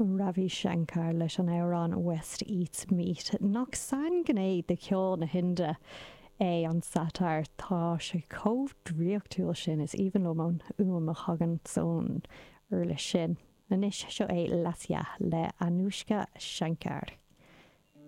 Ravi Shankar leis an amhrán West Eats Meat. Nach sainghné de cheol na hInde é an sitar? Tá sé chomh draíochtúil sin. Is aoibhinn liom an fhuaim a thagann ón uirlis sin. Anois, seo é Lasya le Anoushka Shankar.